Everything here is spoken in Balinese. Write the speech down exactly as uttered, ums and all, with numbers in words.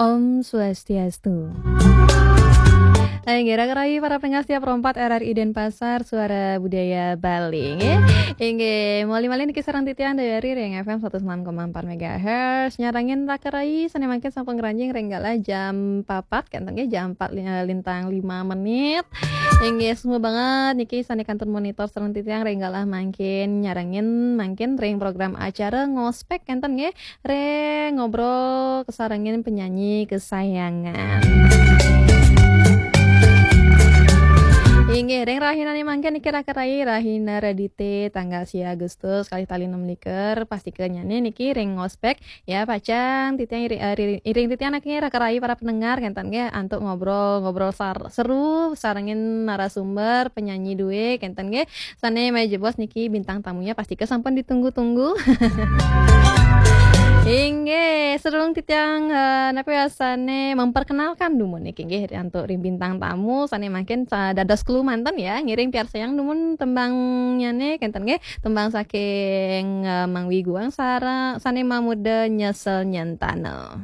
Om Swastiastu. Inggih, raka rayi para pendengar setia Pro empat R R I Denpasar, Suara Budaya Bali, nggih. Inggih, malih-malih niki sareng titiang Dayari ring F M seratus enam koma empat megahertz. Nyarengin raka rayi sane mangkin sampun ngranjing ring galah jam papat, kenten nggih, jam empat li-, lintang lima menit. Inggih, suksma banget niki sane kantun monitor sareng titiang ring galah mangkin, nyarengin mangkin ring program acara Ngospek, kenten nggih. Ring ngobrol kasarengin penyanyi kesayangan. Inggih, ring rahinane mangkin niki raka rayi, rahina Redite, tanggal sia Agustus, kalih tali enam likur, pastika nyane niki ring Ngospek, ya, pacang titiang iri-, eh, iri-, iring titiang niki raka rayi para pendengar, kenten nggih, antuk ngobrol, ngobrol sar-, seru, sarengin narasumber, penyanyi duwe, kenten nggih. Sane maya jebos niki bintang tamunya pastika sampun ditunggu-tunggu. Inggih, sadurung titiang, eh, napa wasane memperkenalkan dumun niki nggih antuk ring bintang tamu sane mangkin sa-, dados klu manten ya, ngiring piarsayang dumun tembangnyane kenten nggih, tembang saking, eh, Mang Wiguang sara-, sane mamuda Nyesel Nyentana.